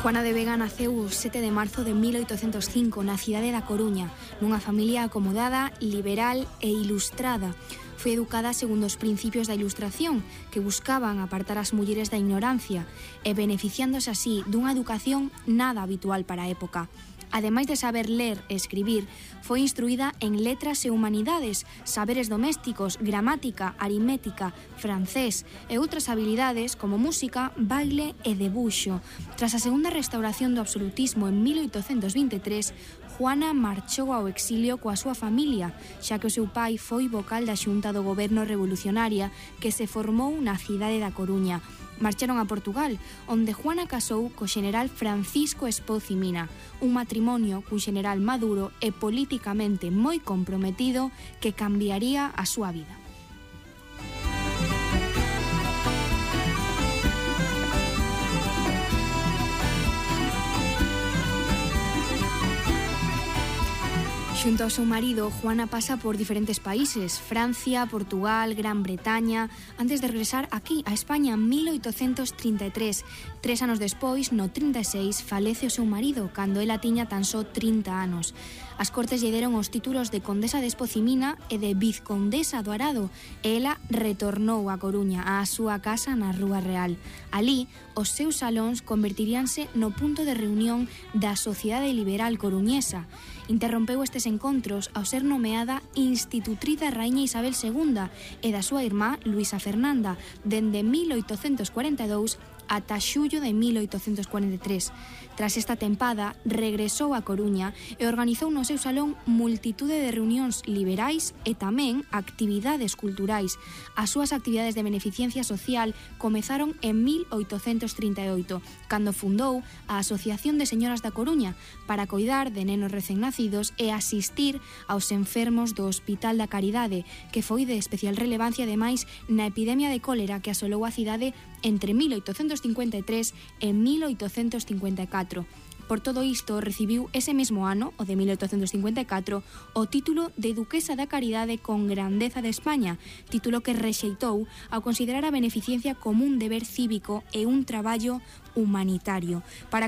Juana de Vega naceu o 7 de marzo de 1805 na cidade da Coruña, nunha familia acomodada, liberal e ilustrada. Foi educada segundo os principios da Ilustración, que buscaban apartar as mulleres da ignorancia e beneficiándose así dunha educación nada habitual para a época. Ademais de saber ler e escribir, foi instruída en letras e humanidades, saberes domésticos, gramática, aritmética, francés e outras habilidades como música, baile e debuxo. Tras a segunda restauración do absolutismo en 1823, Juana marchou ao exilio coa súa familia, xa que o seu pai foi vocal da xunta do goberno revolucionaria que se formou na cidade da Coruña. Marcharon a Portugal, onde Juana casou co xeneral Francisco Espoz y Mina, un matrimonio cun xeneral maduro e políticamente moi comprometido que cambiaría a súa vida. Xunto ao seu marido, Juana pasa por diferentes países, Francia, Portugal, Gran Bretaña, antes de regresar aquí, a España, en 1833. 3 anos despois, no 36, falece o seu marido, cando ela tiña tan só 30 anos. As cortes lle deron os títulos de Condesa de Espoz y Mina e de Vizcondesa do Arado, e ela retornou a Coruña, á súa casa na Rúa Real. Alí, os seus salóns convertiríanse no punto de reunión da Sociedade Liberal Coruñesa. Interrompeu estes encontros ao ser nomeada institutriz da Raíña Isabel II e da súa irmá Luisa Fernanda, dende 1842 ata xullo de 1843. Tras esta tempada, regresou a Coruña e organizou no seu salón multitude de reunións liberais e tamén actividades culturais. As súas actividades de beneficencia social comezaron en 1838, cando fundou a Asociación de Señoras da Coruña para coidar de nenos recén nacidos e asistir aos enfermos do Hospital da Caridade, que foi de especial relevancia ademais na epidemia de cólera que asolou a cidade entre 1853 e 1854. Por todo isto, recibiu ese mesmo ano, o de 1854, o título de Duquesa da Caridade con Grandeza de España, título que rexeitou ao considerar a beneficencia como un deber cívico e un traballo humanitario. Para